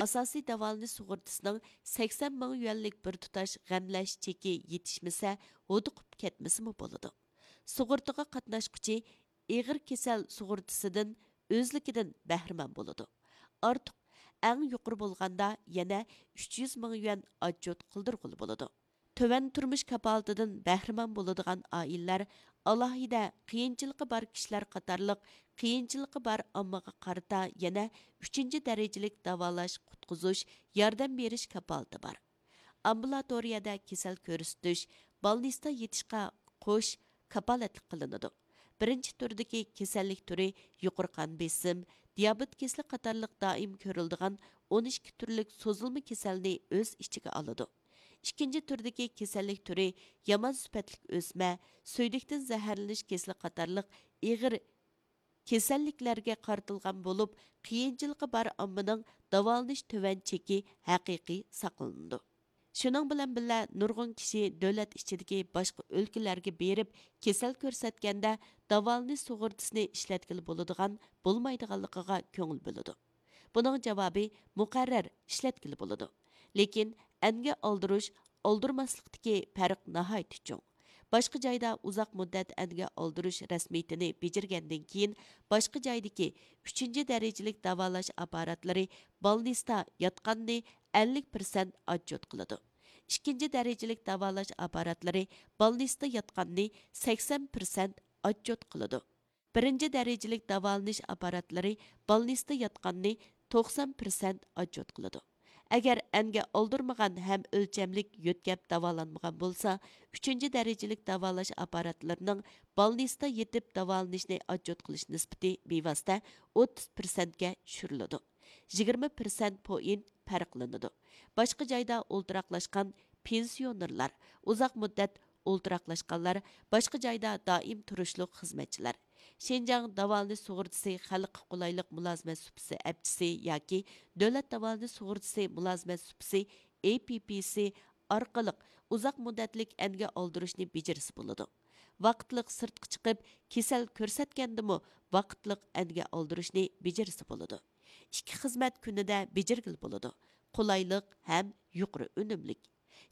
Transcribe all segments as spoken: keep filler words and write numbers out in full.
ئاساسىي داۋالىنىش سۇغۇرتىسىنىڭ سەكسەن مىڭ يۈەنلىك بىر تۇتاش غەملەش چېكى يېتىشمىسە، ھودۇقۇپ كەتمىسىمۇ بولىدۇ. سۇغۇرتىغا قاتناشقۇچى ئېغىر كېسەل سۇغۇرتىسىدىن ئۆزلۈكىدىن بەھرىمەن بولىدۇ. ئارتۇق، ئەڭ يۇقىرى بولغاندا يەنە ئۈچ يۈز مىڭ يۈەن ئاتچوت قىلدۇرغىلى بولىدۇ. تۆۋەن تۇرمۇش كاپالىتىدىن بەھرىمەن بولىدىغان ئائىلىلەر، ئالاھىدە قىيىنچىلىقى بار كىشىلەر قاتارلىق قىيىنچىلىقى بار ئاممىغا قارىتا يەنە ئۈچىنچى دەرىجىلىك داۋالاش، قۇتقۇزۇش، ياردەم بېرىش كاپالىتى بار. ئامبۇلاتورىيەدە كېسەل كۆرسىتىش، بالنىستا يېتىشقا قوش كاپالەتلىك قىلىنىدۇ. بىرىنچى تۈردىكى كېسەللىك تۈرى يۇقىرى قان بېسىم، دىيابېت كېسىلى قاتارلىق دائىم كۆرۈلىدىغان ئون ئىككى تۈرلۈك سوزۇلما كېسەلنى ئۆز ئىچىگە ئالىدۇ. ئىككىنچى تۈردىكى كېسەللىك تۈرى يامان سۈپەتلىك ئۆسمە، سۈيدۈكتىن زەھەرلىنىش كېسىلى قاتارلىق ئېغىر كېسەللىكلەرگە قارىتىلغان بولۇپ، قىيىنچىلىقى بار ئاممىنىڭ داۋالىنىش تۆۋەن چېكى ھەقىقىي ساقلىنىدۇ. شۇنىڭ بىلەن بىللە، نۇرغۇن كىشى دۆلەت ئىچىدىكى باشقا ئۆلكىلەرگە بېرىپ كېسەل كۆرسەتكەندە، داۋالىنىش سۇغۇرتىسىنى ئىشلەتكىلى بولىدىغان، بولمايدىغانلىقىغا كۆڭۈل بۆلىدۇ. بۇنىڭ جاۋابى مۇقەررەر، ئىشلەتكىلى بولىدۇ. لېكىن ئەنگە ئالدۇرۇش، ئالدۇرماسلىقتىكى پەرق ناھايىتى چوڭ. باشقا جايدا ئۇزاق مۇددەت ئەنگە ئالدۇرۇش رەسمىيىتىنى بېجىرگەندىن كېيىن، باشقا جايدىكى ئۈچىنچى دەرىجىلىك داۋالاش ئاپپاراتلىرى بالنىستا ياتقاننى ئەللىك پىرسەنت ئاتچوت قىلىدۇ. ئىككىنچى دەرىجىلىك داۋالاش ئاپپاراتلىرى بالنىستا ياتقاننى سەكسەن پىرسەنت ئاتچوت قىلىدۇ. بىرىنچى دەرىجىلىك داۋالىنىش ئاپپاراتلىرى بالنىستا ياتقاننى توقسان پىرسەنت ئاتچوت قىلىدۇ. ئەگەر ئەنگە ئالدۇرمىغان ھەم ئۆلچەملىك يۆتكەپ داۋالانمىغان بولسا، ئۈچىنچى دەرىجىلىك داۋالاش ئاپپاراتلىرىنىڭ بالنىستا يېتىپ داۋالىنىشنى ئاتچوت قىلىش نىسبىتى بىۋاسىتە ئوتتۇز پىرسەنتكە چۈشۈرۈلىدۇ. يىگىرمە پىرسەنت پوينت پەرقلىنىدۇ. باشقا جايدا ئولتۇراقلاشقان پېنسىيونېرلار، ئۇزاق مۇددەت ئولتۇراقلاشقانلار، باشقا جايدا دائىم تۇرۇشلۇق خىزمەتچىلەر. شىنجاڭ داۋالىنىش سۇغۇرتىسى خەلققە قولايلىق مۇلازىمەت سۇپىسى ئەپچىسى ياكى دۆلەت داۋالىنىش سۇغۇرتىسى مۇلازىمەت سۇپىسى، ئېي پىي پىي سى، ئارقىلىق ئۇزاق مۇددەتلىك ئەنگە ئالدۇرۇشنى بېجىرسە بولىدۇ. ۋاقىتلىق سىرتقا چىقىپ كېسەل كۆرسەتكەندىمۇ ۋاقىتلىق ئەنگە ئالدۇرۇشنى بېجىرسە بولىدۇ. ئىككى خىزمەت كۈنىدە بېجىرگىلى بولىدۇ. قولايلىق ھەم يۇقىرى ئۈنۈملۈك.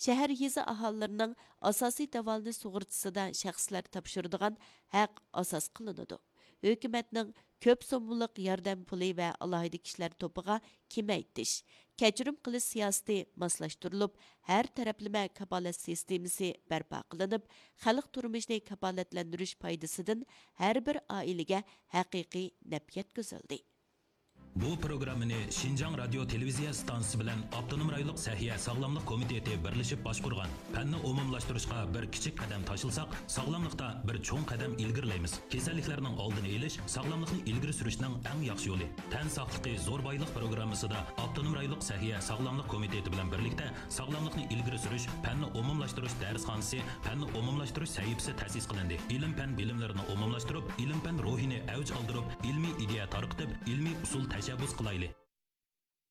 شەھەر، يېزا ئاھالىلىرىنىڭ ئاساسىي داۋالىنىش سۇغۇرتىسىدا شەخسلەر تاپشۇرىدىغان ھەق ئاساس قىلىنىدۇ. ھۆكۈمەتنىڭ كۆپ سوممىلىق ياردەم پۇلى ۋە ئالاھىدە كىشىلەر توپىغا كېمەيتىش، كەچۈرۈم قىلىش سىياسىتى ماسلاشتۇرۇلۇپ، ھەر تەرەپلىمە كاپالەت سىستېمىسى بەرپا قىلىنىپ، خەلق تۇرمۇشىنى كاپالەتلەندۈرۈش پايدىسىدىن ھەر بىر ئائىلىگە ھەقىقىي نەپ يەتكۈزۈلدى. بۇ پروگراممىنى شىنجاڭ رادىيو تېلېۋىزىيە ئىستانسىسى بىلەن ئاپتونوم رايونلۇق سەھىيە ساغلاملىق كومىتېتى بىرلىشىپ باشقۇرغان. پەننى ئومۇملاشتۇرۇشقا بىر كىچىك قەدەم تاشلىساق، ساغلاملىقتا بىر چوڭ قەدەم ئىلگىرىلەيمىز. كېسەللىكلەرنىڭ ئالدىنى ئېلىش، ساغلاملىقنى ئىلگىرى سۈرۈشنىڭ ئەڭ ياخشى يولى. تەن ساقلىقى زور بايلىق پروگراممىسىدا ئاپتونوم رايونلۇق سەھىيە ساغلاملىق كومىتېتى بىلەن بىرلىكتە ساغلاملىقنى ئىلگىرى سۈرۈش، پەننى ئومۇملاشتۇرۇش دەرسخانىسى، پەننى ئومۇملاشتۇرۇش سەھىپىسى تەسىس قىلىندى. ئىلىم-پەن بىلىملىرىنى ئومۇملاشتۇرۇپ، ئىلىم-پەن روھىنى ئەۋج ئالدۇرۇپ، ئىلمىي ئىدىيە تارقىتىپ، ئىلمىي ئۇسۇل تەشەببۇس قىلايلى.